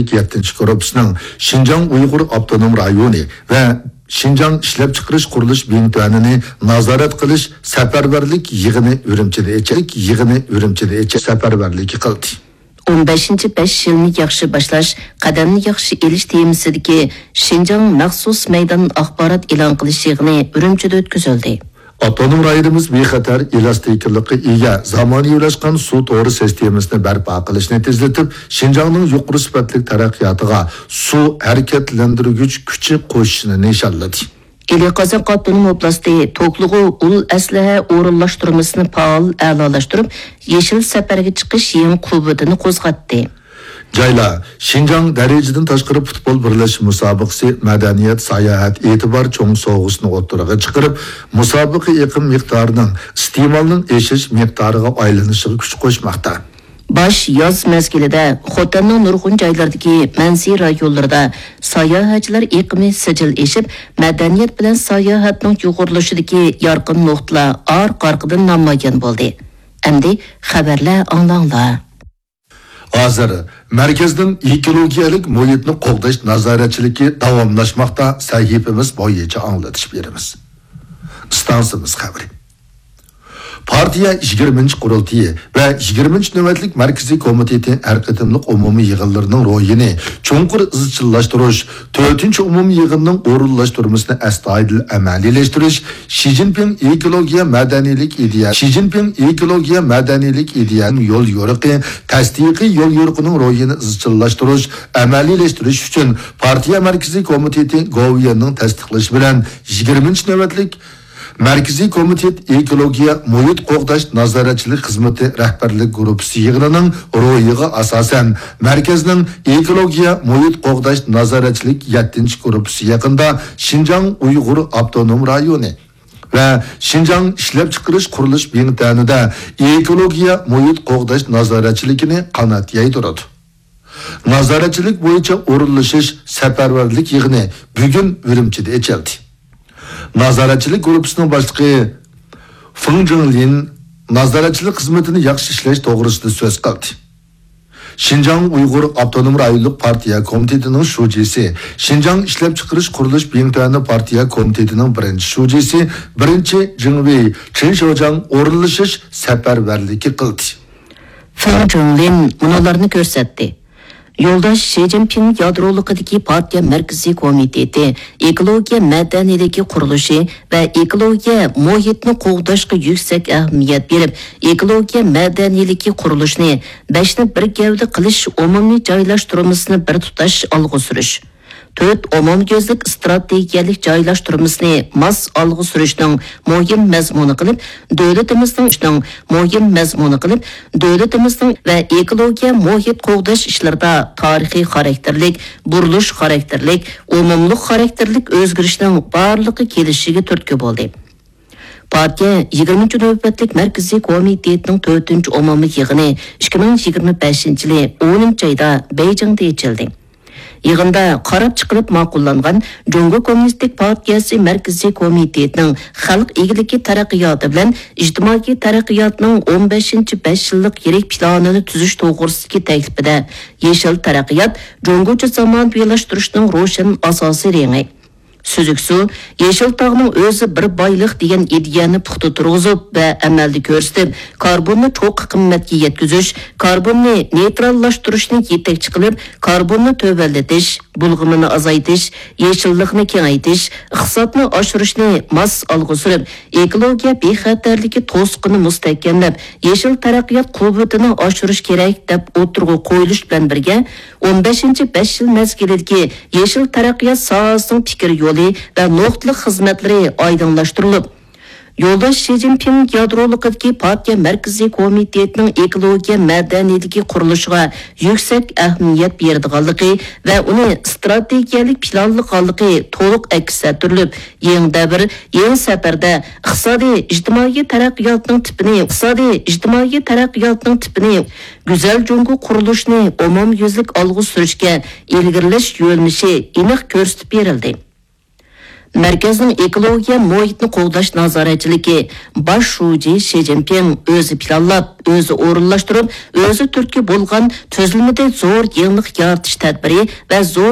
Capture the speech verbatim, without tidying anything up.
يەتتىنچى گۇرۇپپىسىنىڭ شىنجاڭ ئۇيغۇر ئاپتونوم رايونى ۋە شىنجاڭ ئىشلەپچىقىرىش قۇرۇلۇش بىڭتۈەنىنى نازارەت قىلىش سەپەرۋەرلىك يىغىنى ئۈرۈمچىدە ئېچىلدى. يىغىنى ئۈرۈمچىدە ئېچىلدى. سەپەرۋەرلىكى قىلدى. ئون بەشىنچى بەش يىلنى ياخشى باشلاش، قەدەمنى ياخشى ئېلىش تېمىسىدىكى شىنجاڭ مەخسۇس مەيدان ئاخبارات ئېلان قىلىش يىغىنى ئۈرۈمچىدە ئۆتكۈزۈلدى. ئاپتونوم رايونىمىز بىخەتەر، ئېلاستىكلىققا ئىگە، زامانىۋىلاشقان سۇ تورى سىستېمىسىنى بەرپا قىلىشنى تېزلىتىپ، شىنجاڭنىڭ يۇقىرى سۈپەتلىك تەرەققىياتىغا سۇ ھەرىكەتلەندۈرگۈچ كۈچى قوشۇشىنى نىشانلىدى. ئىلى قازاق ئاپتونوم ئوبلاستى توكلىغۇ ئۇل ئەسلىھە ئورۇنلاشتۇرمىسىنى پائال ئەلالاشتۇرۇپ، يېشىل سەپەرگە چىقىش يېڭى قۇۋۋىتىنى قوزغاتتى. جايلار شىنجاڭ دەرىجىدىن تاشقىرى پۇتبول بىرلەشمە مۇسابىقىسى، مەدەنىيەت، ساياھەت، ئېتىبار چوڭ سوۋغىسىنى ئوتتۇرىغا چىقىرىپ، مۇسابىقە ئېقىم مىقدارىنىڭ ئىستېمالنىڭ ئېشىش مىقدارىغا ئايلىنىشىغا كۈچ قوشماقتا. باش ياز مەزگىلىدە خوتەننىڭ نۇرغۇن جايلىرىدىكى مەنزىرە رايونلىرىدا ساياھەتچىلەر ئېقىمى سىجىل ئېشىپ، مەدەنىيەت بىلەن ساياھەتنىڭ يۇغۇرۇلۇشىدىكى يارقىن نۇقتىلار ئارقا-ئارقىدىن نامايان بولدى. ئەمدى خەۋەرلەر ئاڭلاڭلار. ھازىر مەركەزنىڭ ئېكولوگىيەلىك مۇھىتنى قوغداش نازارەتچىلىكى داۋاملاشماقتا. سەھىپىمىز بويىچە ئاڭلىتىش بېرىمىز. ئىستانسىمىز خەۋىرى. پارتىيە يىگىرمىنچى قۇرۇلتىيى ۋە يىگىرمىنچى نۆۋەتلىك مەركىزىي كومىتېتى ھەر قېتىملىق ئومۇمىي يىغىنلىرىنىڭ روھىنى چوڭقۇر ئىزچىللاشتۇرۇش، تۆتىنچى ئومۇمىي يىغىننىڭ ئورۇنلاشتۇرمىسىنى ئەستايىدىل ئەمەلىيلەشتۈرۈش، شى جىنپىڭ ئېكولوگىيە مەدەنىيلىك ئىدىيە، شى جىنپىڭ ئېكولوگىيە مەدەنىيلىك ئىدىيە يول يورۇقى، تەستىقىي يول يورۇقىنىڭ روھىنى ئىزچىللاشتۇرۇش، ئەمەلىيلەشتۈرۈش ئۈچۈن پارتىيە مەركىزىي كومىتېتى گوۋۇيۈەننىڭ تەستىقلىشى بىلەن يىگىرمىنچى نۆۋەتلىك مەركىزىي كومىتېت ئېكولوگىيە مۇھىت قوغداش نازارەتچىلىك خىزمىتى رەھبەرلىك گۇرۇپپىسى يىغىنىنىڭ روھىغا ئاساسەن، مەركەزنىڭ ئېكولوگىيە مۇھىت قوغداش نازارەتچىلىك يەتتىنچى گۇرۇپپىسى يېقىندا شىنجاڭ ئۇيغۇر ئاپتونوم رايونى ۋە شىنجاڭ ئىشلەپچىقىرىش قۇرۇلۇش بىڭتۈەنىدە ئېكولوگىيە مۇھىت قوغداش نازارەتچىلىكىنى قانات يايدۇرىدۇ. نازارەتچىلىك بويىچە ئورۇنلىشىش سەپەرۋەرلىك يىغىنى بۈگۈن ئۈرۈمچىدە ئېچىلدى. نازارەتچىلىك گۇرۇپپىسىنىڭ باشلىقى فېڭ جىڭلىن نازارەتچىلىك خىزمىتىنى ياخشى ئىشلەش توغرىسىدا سۆز قىلدى. شىنجاڭ ئۇيغۇر ئاپتونوم رايونلۇق پارتىيە كومىتېتىنىڭ شۇجىسى، شىنجاڭ ئىشلەپچىقىرىش قۇرۇلۇش بىڭتۈەنى پارتىيە كومىتېتىنىڭ بىرىنچى شۇجىسى، بىرىنچى جىڭۋېي چېن شياۋجياڭ ئورۇنلىشىش سەپەرۋەرلىكى قىلدى. فېڭ جىڭلىن مۇنۇلارنى كۆرسەتتى. يولداش شى جىنپىڭ يادرولۇقىدىكى پارتىيە مەركىزىي كومىتېتى ئېكولوگىيە مەدەنىيلىكى قۇرۇلۇشى ۋە ئېكولوگىيە مۇھىتنى قوغداشقا يۈكسەك ئەھمىيەت بېرىپ، ئېكولوگىيە مەدەنىيلىكى قۇرۇلۇشىنى بەشنى بىر گەۋدە قىلىش ئومۇمىي جايلاشتۇرمىسىنى بىر تۇتاش ئالغا سۈرۈش، تۆت ئومۇميۈزلۈك ئىستراتېگىيەلىك جايلاشتۇرمىسىنى ماس ئالغا سۈرۈشنىڭ مۇھىم مەزمۇنى قىلىپ، دۆلىتىمىزنىڭ مۇھىم مەزمۇنى قىلىپ، دۆلىتىمىزنىڭ ۋە ئېكولوگىيە مۇھىت قوغداش ئىشلىرىدا تارىخىي خاراكتېرلىك، بۇرۇلۇش خاراكتېرلىك، ئومۇملۇق خاراكتېرلىك ئۆزگىرىشنىڭ بارلىققا كېلىشىگە تۈرتكە بولدى. پارتىيە يىگىرمىنچى نۆۋەتلىك مەركىزىي كومىتېتىنىڭ تۆتىنچى ئومۇمىي يىغىنى ئىككى مىڭ يىگىرمە بەشىنچى يىلى ئونىنچى ئايدا بېيجىڭدا ئېچىلدى. يىغىندا قاراپ چىقىلىپ ماقۇللانغان جۇڭگو كوممۇنىستىك پارتىيەسى مەركىزىي كومىتېتىنىڭ خەلق ئىگىلىكى تەرەققىياتى بىلەن ئىجتىمائىي تەرەققىياتنىڭ ئون بەشىنچى بەش يىللىق يىرىك پىلانىنى تۈزۈش توغرىسىدىكى تەكلىپىدە يېشىل تەرەققىيات جۇڭگوچە زامانىۋىلاشتۇرۇشنىڭ روشەن ئاساسىي رېڭى. سۈزۈك سۇ، يېشىل تاغنىڭ ئۆزى بىر بايلىق دېگەن ئىدىيەنى پۇختا تۇرغۇزۇپ ۋە ئەمەلدە كۆرسىتىپ، كاربوننى چوققا قىممەتكە يەتكۈزۈش، كاربوننى نېيتراللاشتۇرۇشنى يېتەكچى قىلىپ، كاربوننى تۆۋەنلىتىش، بۇلغىمىنى ئازايتىش، يېشىللىقنى كېڭەيتىش، ئىقتىسادنى ئاشۇرۇشنى ماس ئالغا سۈرۈپ، ئېكولوگىيە بىخەتەرلىكى توسۇقىنى مۇستەھكەملەپ، يېشىل تەرەققىيات قۇۋۋىتىنى ئاشۇرۇش كېرەك، دەپ ئوتتۇرىغا قويۇلۇش بىلەن بىرگە، ئون بەشىنچى بەش يىل مەزگىلىدىكى يېشىل تەرەققىيات ساھەسىنىڭ پىكىر يولى ۋە نۇقتىلىق خىزمەتلىرى ئايدىڭلاشتۇرۇلۇپ، يولداش شى جىنپىڭ يادرولۇقىدىكى پارتىيە مەركىزىي كومىتېتىنىڭ ئېكولوگىيە مەدەنىيلىكى قۇرۇلۇشىغا يۈكسەك ئەھمىيەت بېرىدىغانلىقى ۋە ئۇنى ئىستراتېگىيەلىك پىلانلىغانلىقى تولۇق ئەكس ئەتتۈرۈلۈپ، يېڭى دەۋر، يېڭى سەپەردە ئىقتىسادىي ئىجتىمائىي تەرەققىياتنىڭ تىپىنى، ئىقتىسادىي ئىجتىمائىي تەرەققىياتنىڭ تىپىنى، گۈزەل جۇڭگو قۇرۇلۇشىنى ئومۇميۈزلۈك ئالغا سۈرۈشكە ئىلگىرىلەش يۆنىلىشى ئېنىق كۆرسىتىپ بېرىلدى. مەركەزنىڭ ئېكولوگىيە مۇھىتنى قوغداش نازارەتچىلىكى باش شۇجى شى جىنپىڭ ئۆزى پىلانلاپ، ئۆزى ئورۇنلاشتۇرۇپ، ئۆزى تۈرتكە بولغان تۈزۈلمىدە زور يېڭىلىق يارىتىش تەدبىرى ۋە زور